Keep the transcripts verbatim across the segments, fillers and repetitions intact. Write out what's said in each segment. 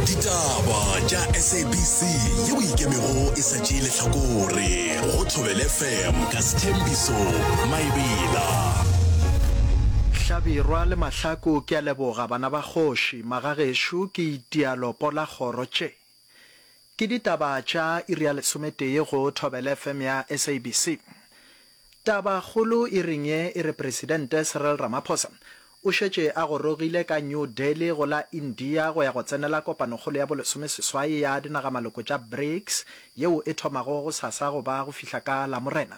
Ditaba tša S A B C yeo ikemego e sa tšee lehlakore go Thobela F M ka Sethembiso Maebela. Hlabirwa le Mahlaku ke a leboga bana ba kgoši, magagešo ke itia lopo la kgoro tše. Ke ditaba tša iri ya lesometee go Thobela F M ya S A B C. Taba kgolo iring ye e re Presidente Cyril Ramaphosa o šetše a gorogile ka New Delhi go la India go ya go tsenela kopanokgolo ya bolesomeseswai ya dinagamaloko tša BRICS yeo e thomago gosasa go ba go fihla ka Lamorena.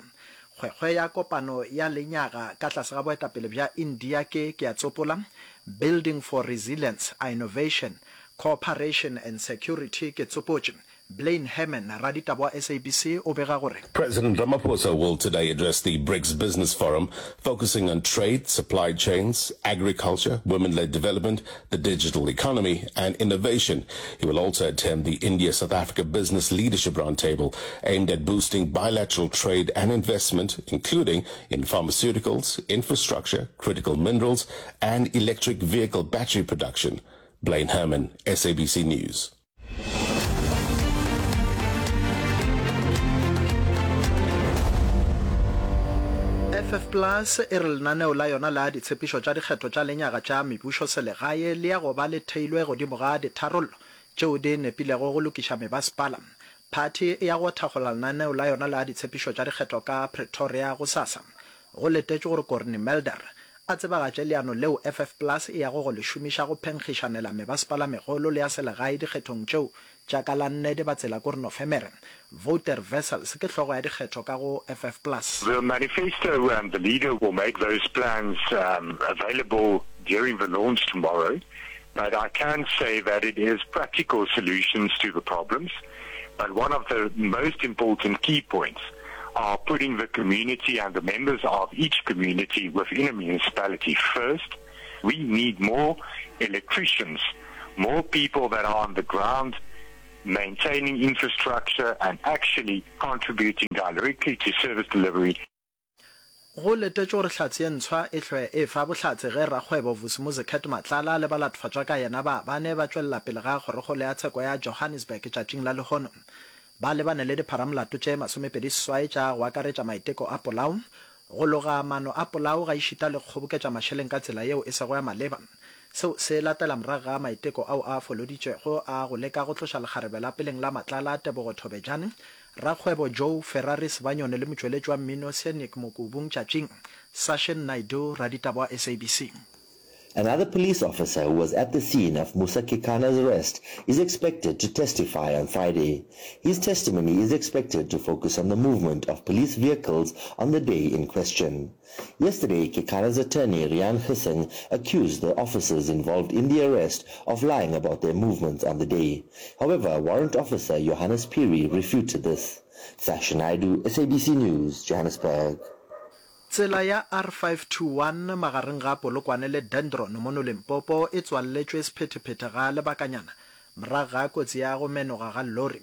Kgwekgwe ya kopano ya lenyaga ka tlase ga boetapele bja India ke, ke a tsopola, Building for Resilience, Innovation, Cooperation and Security, ke tsopotše. Blaine Herman, raditaba wa S A B C o bega gore. President Ramaphosa will today address the BRICS Business Forum, focusing on trade, supply chains, agriculture, women-led development, the digital economy, and innovation. He will also attend the India-South Africa Business Leadership Roundtable, aimed at boosting bilateral trade and investment, including in pharmaceuticals, infrastructure, critical minerals, and electric vehicle battery production. Blaine Herman, S A B C News. F F Plus e re lenaneo la yona la ditshepišo tša dikgetho tša lenyaga tša mebušo selegae le ya go ba le theilwe godimo ga ditharollo tšeo di nepilego go lokiša mebasepala. Phathi e ya go thakgola lenaneo la yona la ditshepišo tša dikgetho ka Pretoria gosasa. Go letetšwe gore Cornie Mulder a tsebagatše leano leo F F Plus e yago go le šomiša go phenkgišanela mebasepala megolo le ya selegae dikgethong tšeo tša ka la nne Dibatsela kore Nofemere. Wouter Wessels ke hlogo ya dikgetho ka go F F Plus. The manifesto and the leader will make those plans um, available during the launch tomorrow, but I can say that it is practical solutions to the problems. But one of the most important key points are putting the community and the members of each community within a municipality first. We need more electricians, more people that are on the ground maintaining infrastructure and actually contributing directly to service delivery. Go letetšwe gore hlatse ye ntshwa e hlwe e fa bohlatse ge rakgwebo Vusimuzi Cat Matlala le balatofadwa ka yena ba bane ba tšwelela pele ga kgorokgolo ya tsheko ya Johannesburg tšatšing la lehono. Ba lebane le dipharamolato tše masomepedi seswai tša go akaretša maiteko a polao, go loga maano a polao gaešita le go kgoboketša mašeleng ka tsela yeo e sego ya maleba. Seo se latela morago ga maiteko ao a foloditšwego a go leka go tloša lekgarebe la peleng la Matlala, Tebogo Thobejane, rakgwebo Joe Ferrari Sibanyoni le motšweletši wa mmino Scenic Mokubung tšatšing. Sashin Naidoo, raditaba wa S A B C. Another police officer who was at the scene of Musa Kekana's arrest is expected to testify on Friday. His testimony is expected to focus on the movement of police vehicles on the day in question. Yesterday, Kekana's attorney Rian Hussein accused the officers involved in the arrest of lying about their movements on the day. However, Warrant Officer Johannes Piri refuted this. Sasha Naidu, S A B C News, Johannesburg. Tsela ya R five two one magareng ga Polokwane le Dendron mono Limpopo e tswalletšwe sephethephethe ga lebakanyana morago ga kotsi ya go menoga ga lori.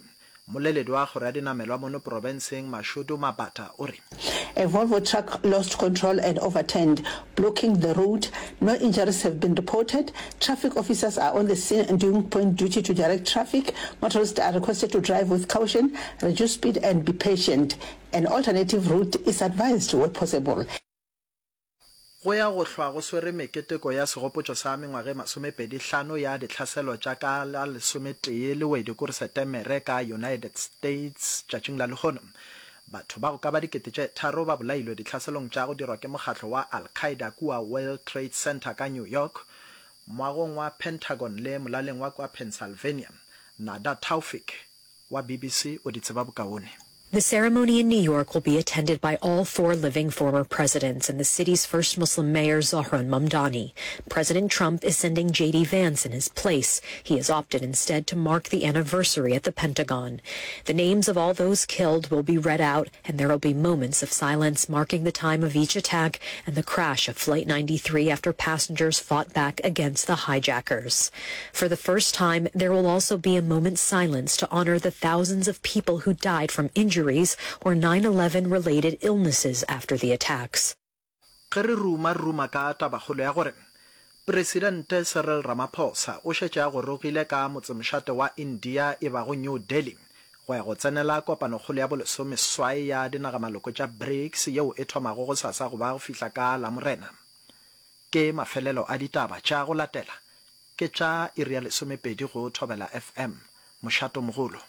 Mmoleledi wa kgoro ya dinamelwa mono profenseng Mashudu Mabata o re. A Volvo truck lost control and overturned, blocking the road. No injuries have been reported. Traffic officers are on the scene and doing point duty to direct traffic. Motorists are requested to drive with caution, reduce speed and be patient. An alternative route is advised where possible. Go ya go hlwa go swere meketeko ya segopotšo sa mengwaga e masomepedi hlano ya ditlhaselo tša ka la lesometee Lewedi kore Setemere ka United States tšatšing la lehono. Batho ba go ka ba dikete tše tharo ba bolailwe ditlhaselong tša go dirwa ke mokgatlo wa Al-Qaeda kua World Trade Center ka New York, moagong wa Pentagon le molaleng wa kua Pennsylvania. Nada Tawfik wa B B C o di tseba bokaone. The ceremony in New York will be attended by all four living former presidents and the city's first Muslim mayor, Zohran Mamdani. President Trump is sending J D. Vance in his place. He has opted instead to mark the anniversary at the Pentagon. The names of all those killed will be read out, and there will be moments of silence marking the time of each attack and the crash of Flight ninety-three after passengers fought back against the hijackers. For the first time, there will also be a moment's silence to honor the thousands of people who died from injuries or nine eleven related illnesses after the attacks. Ge re ruma, re ruma ka tabakgolo ya gore Presidente Cyril Ramaphosa o šetše a gorogile ka motsemošate wa India e bago New Delhi go ya go tsenela kopanokgolo ya bolesomeswai ya dinagamaloko tša BRICS yeo e thomago gosasa go ba go fihla ka Lamorena. Ke mafelelo a ditaba tša go latela ke tša iri ya lesomepedi go Thobela F M, mošatomogolo.